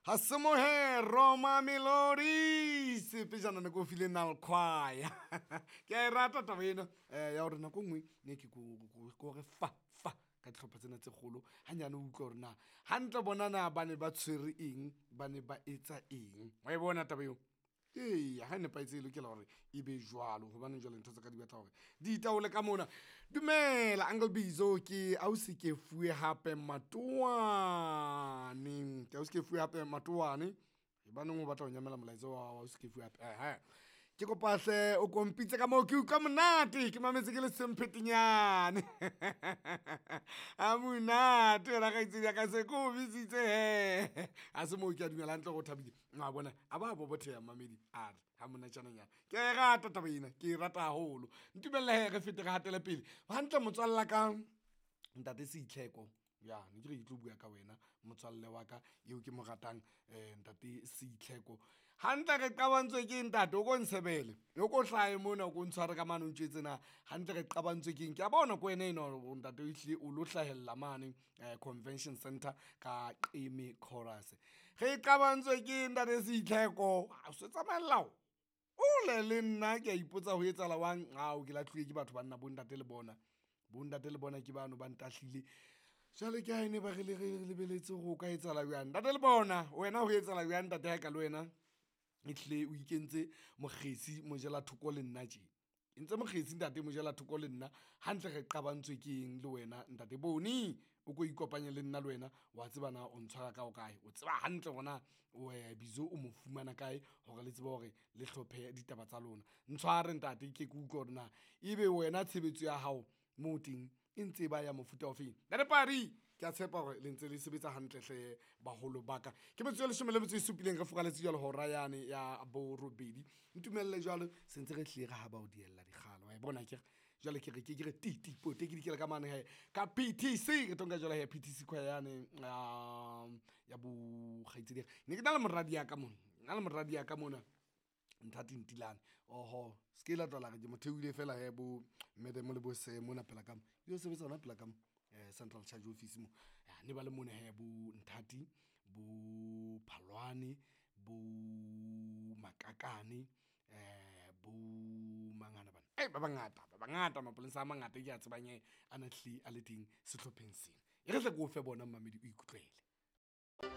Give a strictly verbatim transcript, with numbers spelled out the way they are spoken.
Ha se mohe Roma Melodies pejana ne ko file nalkhwaya. Ke a e rata taba ena eh, ya hore nako e nngwe ne ke ko re fa fa ka dihlopha tsena tse kgolo hanyane o utlwa hore na hantle bona na ba ne ba tshwere eng, ba ne ba etsa eng. Wa e bona taba eo? Eya, ha e nepahetse e lokela hore e be jwalo hobane jwale ntho tsa ka di batla hore di itaole ka mona. Dumela Uncle Bizo, ke ausi ke fuwe hape Matoane, ke ausi ke fuwe hape Matoane. Baneng o batla ho nyamela molaetsa wa ausi ke fuwe hape. Ehe, ke kopa hle o kompitse ka moo ke utlwa monate, ke mametse ke le semphetenyane. A monate wena kgaitsedi ya ka, se ke o bitsitse hee. Ha se moo ke a dumela hantle hore o thabile. Wa bona a ba bobotheha mmamedi a re ha monatjananyana. Ke a e rata taba ena, ke e rata haholo. Ntumelle hee re fete re hatele pele hantle motswalla ka ntate Seitlheko. Ya ne ke re ke tlo bua ka wena motswalle wa ka eo ke mo ratang, um ntate Seitlheko. Hantle re qabantswe ke eng ntate? O ko ntshebele, o ko hlahe mona, o ko ntshware ka mane o ntjwetse na hantle re qabantswe ke eng. Ke a bona ko wena enwa hore ntate ehlile o lo hlahella mane Convention Centre ka Qeme Chorus. Re qabantswe ke eng ntate Seitlheko? O se tsamaella hole le nna, ke a ipotsa ho etsahala jwang. Ao, ke lahluwe ke batho banna, bo ntate le bona, bo ntate le bona ke bano ba ntahlile. Jwale ke ha ene ba re le re lebeletse hore o ka etsahala jwang. Ntate le bona wena ho etsahala jwang ntate ha e ka le wena ehlile o ikentse mokgesi mojela thoko le nna tje. Entse mokgesi ntate mojela thoko le nna, hantle re qabantswe ke eng le wena ntate Boni? O ko ikopanye le nna le wena wa tseba na o ntshwara ka ho kae, o tseba hantle hore na o Bizo o mo fumana kae hore le tsebe hore le hlophe ditaba tsa lona. Ntshware ntate ke ke utlwe hore na ebe wena tshebetso ya hao moo teng e ntse ba ya mofuta ofeng. Ntate Pari, ke a tshepa hore le ntse le sebetsa hantle hle baholo ba ka. Ke metsotso e leshome le metso e supileng re furaletse jwalo hora yane ya borobedi. Ntumelle jwalo se ntse re hlile re haba ho diella dikgalo wa e bona akere. Jwale ke re ke ke re ti ti pote ke dikela ka mane hee ka P T C, re tlo nka jwalo hee P T C choir yane ya ya bo kgaitsedi. Ne ke na le moradi ya ka mona, na le moradi ya ka mona Nthati Ntilane. Oho, se ke la tloha la re ke mo theohile fela hee bo madam le bo sir mona pela ka mo. Yo sebetsa hona pela ka mo Central Charge Office mo. Ne ba le mona hee bo Nthati, bo Phalwane, bo Makakane, um bo mangana bana. Ei ba bangata, ba bangata mapolesa a mangata e ke a tsebang hee a na hlile a le teng sehlopheng sena. E re hle ke o fe bona mmamedi o ikutlwele.